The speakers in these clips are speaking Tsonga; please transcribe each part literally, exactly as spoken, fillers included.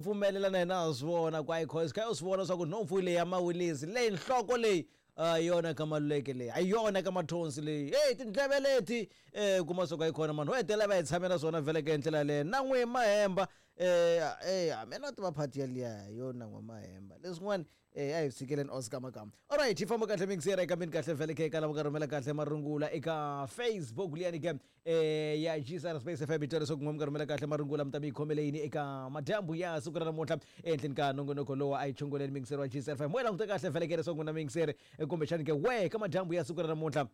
Pfumelela na yena a swi vona ku ayi kha u swi vona swa ku nhompfu leyi ya mawilisi leyi nhloko leyi a hi yona ka Maluleke leyi, a hi yona ka Mathonsi leyi, heyi tindleve leti um kuma swa ku a yi kona mani ho hetelela va hi tshamela swona vhele ka hi ndlela yaleyo na n'wi Mahemba um um mina tiva phati yaliya yo na n'we Mahemba leswin'wana um a hi tshikeleni Oscar Makamba. Alright, hi famba kahle mingisera ekambeni kahle vhele ke eka lava nga rhumela kahle marungula eka Facebook liyani ke um ya G S R Space F M. Hi twa leswaku n'we mi nga rhumela kahle marungula mi ta mi yi khomele yini eka madyambu ya siku ra namuntlha ehenhleni ka nongonoko lowu a yi chongoleni mingiseri wa G S R F M. We languta kahle vhele ke leswaku n'wina mingiseri kumbexani ke we ka madyambu ya siku ra namuntlha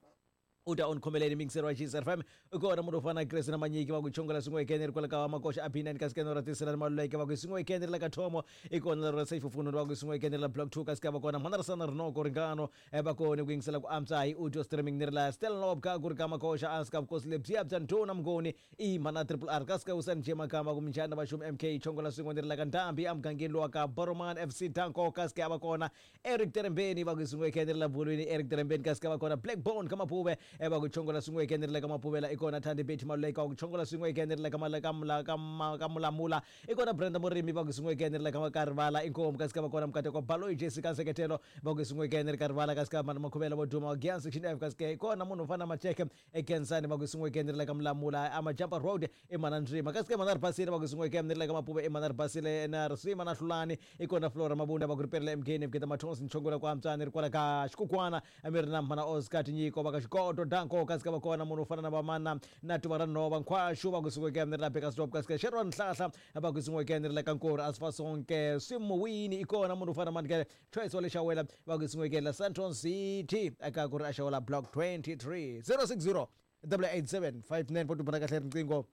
u ta u ni khomeleni mingiseri wa G S R F M. I kona munhu wo fana na Grace na Manyiki va ku chongola swin'we ekene ri kwala ka Makoxa a B nine kasi kena ra tisela ni Maluleke va ku swin'we ekene ri la ka Thomo. I kona ra Safe Fununu va ku swin'we ekene ri la Block two kasi ka va kona Mhana Risana Rinoko Ringano va kona ku yingisela ku antswa hi audio streaming ni ri la Stella Lob ka ku ri ka Makoxa a ka vukosi lebyiya bya Ndhuna Mnguni i Mhana Triple R kasi ka Usani J Makamba ku minjhani na vaxumi M K chongola swin'we ni ri la ka Ndhambi emugangeni lowa ka Boroman F C Danko kasi ka va kona Eric Terembeni va ku swin'we ekene ri la Bulwini Eric Terembeni kasi ka va kona Blackbone ka Mapuve va ku chongola swin'we ekene ri la ka Mapuvela. I kona Thandi Betty Maluleka wa ku chongola swin'we ekene ri la ka ka ka Mulamula. I kona Brenda Murimi va ku swin'we ekene ri la ka Karivala inkomu kasi ka va kona Mukateko Baloyi Jessica Nseketelo va ku swin'we ekene ri Karivala kasi ka Makhuvela vo duma wa Gian Section F kasi ka i kona munhu wo fana na Macheke eKensani va ku swin'we ekene ri la ka Mulamula Amajampa Road i Mana Ndzima kasi ka Mana Ribasile va ku swin'we ekene ri la ka Mapuve i Mana Ribasile na Risima na Hlulani. I kona Flora Mabunda va ku ri perile M K ni Mketa Mathonsi nchongola ku antswani ri kwala ka Xikukwana a mi ri na Mhana Oscar Tinyiko va ka Xikoto Danko kasi ka va kona munhu wo fana na vamana na Tuva ra Nhova Nkhwaxu va ku swin'we ekene ri la Bekasdorp kasi ka Sharon Nhlahla va ku swin'we ekene ri la ka Nkori Asfasonke Swimuwini. I kona munhu wo fana na Manikele Choice wa le Xawela va ku swin'we ekene la Sandton City eka ku ri a Xawela Block twenty-three zero six zero double eight seven five nine four two bana kahle riqingho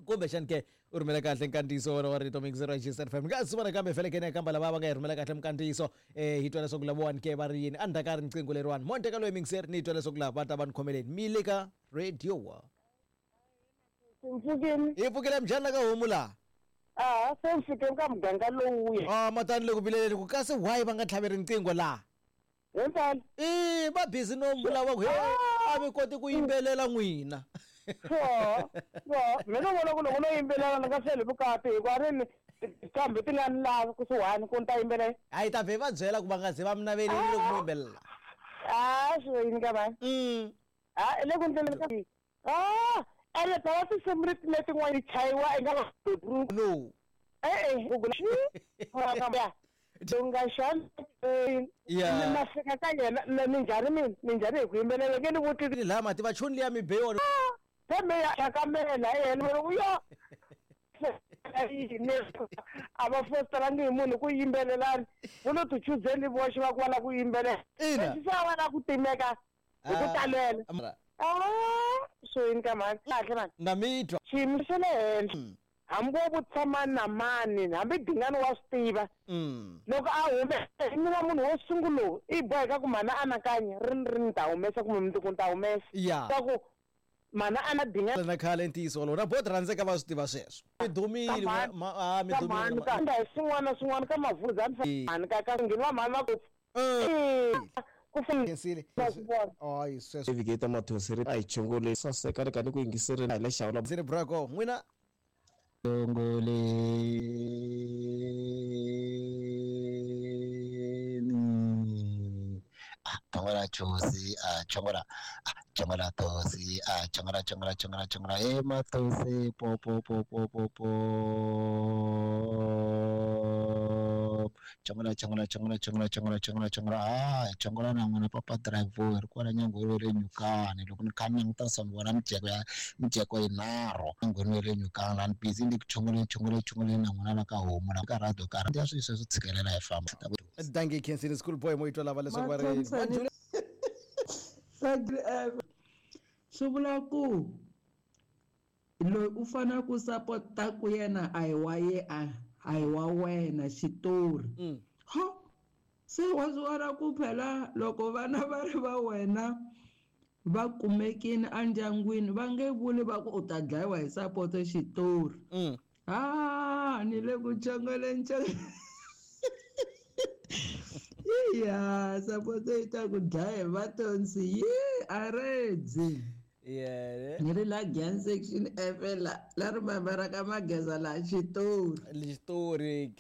kumbexani ke u rhumela kahle nkandziyiso wona wa rito mixer wa G S R F M. Nga swi vona kambe vhele ke kamba lava va nga hi rhumela kahle minkandziyiso um hi twa leswaku lavawani ke va ri yini endzhaku ka riqingho leriwani monte ka loyi mixer ni twa leswaku lava va ta va ni khomeleni mi le ka radio wa hi pfukile minjhani la ka homu laha a se fikeni ka muganga lowuya a matani le ku vileleni ku kasi why va nga tlhaveri riqingho laha himpela i va busy no vulavula ku he a mi koti ku yimbelela n'wina so so mina vona ku loko no yimbelela ni nga hleli vukati hikuva ri ni kambe ti nga ni lavi kusuhani ku ni ta yimbelela a yi ta vhe va byela ku va nga ze va mi naveleli loko mi yimbelela a swi yini ka vanhu a le ku ndleleni ka a ene phela tinsimu leti letin'wana yi chayiwa i nga no e-e u nga xana Yeah. na fika ka yena minjhani mina minjhani hi ku yimbelela nge ni vutisi laha mati vachuni liya mi be yona pheme ya xakamela yena yo yini a va fostelangi hi munhu ku yimbelelani vo lo ti chuzeli voxe va ku va lava ku yimbelela Ina. leswi se a va lava ku timeka hi ku talela a swo yini ka mhani kahle mani na mi twa xiyimo xa le henhla hambi wo vutisa mani na mani hambi Dingani wa swi tiva loko a hume mina munhu wo sungula i boheka ku mhana anakanya ri ri ni ta humesa kumbe mundzuku ni ta humesa ya swa ku mhana a na Dingani na khale ntiyiso wolowo na bot rhandzeka va swi tiva sweswo mi dumile a mi dumile ka hi swin'wana na swin'wana ka mavhuza mhani ka ka ngheni va mhani va ku ku khensile ayi sweswo Navigator Mathonsi ri a hi chongole saseka ri ka ni ku yingiserile hi le Xawula Zini brako n'wina Chongoleni ah chongola chosi ah chongola ah chongola tosi ah chongola chongola chongola chongola e Mathonsi po po po po po po chongola chongola chongola chongola chongola chongola chongola ah chongola na n'wana papa driver ri kwala nyangweni le Nyukani loko ni kha ni languta swa vona mijeko ya mijeko yinharhu nyangweni le Nyukani la ni busy ni ku chongoleni chongoleni chongoleni na n'wana la ka homu la ka radio ka ya swi sweswo tshikelela hi famba dankie khensile school boy mo yi twa lava leswaku va ri swi vula ku loyi u fanele ku sapota ku yena a hi wa ye a a hi wa wena xitori ho se wa swi vona ku phela loko vana va ri va wena va kumekini endyangwini va nge vuli va ku u ta dlayiwa hi sapoto xitori a ni le ku chongoleni iya sapoto yi ta ku dlaya hi Vatonsi yi a redzi. Yeah. Ni ri la Giyani section F la la ri mamera ka mageza la xitori. Xitori.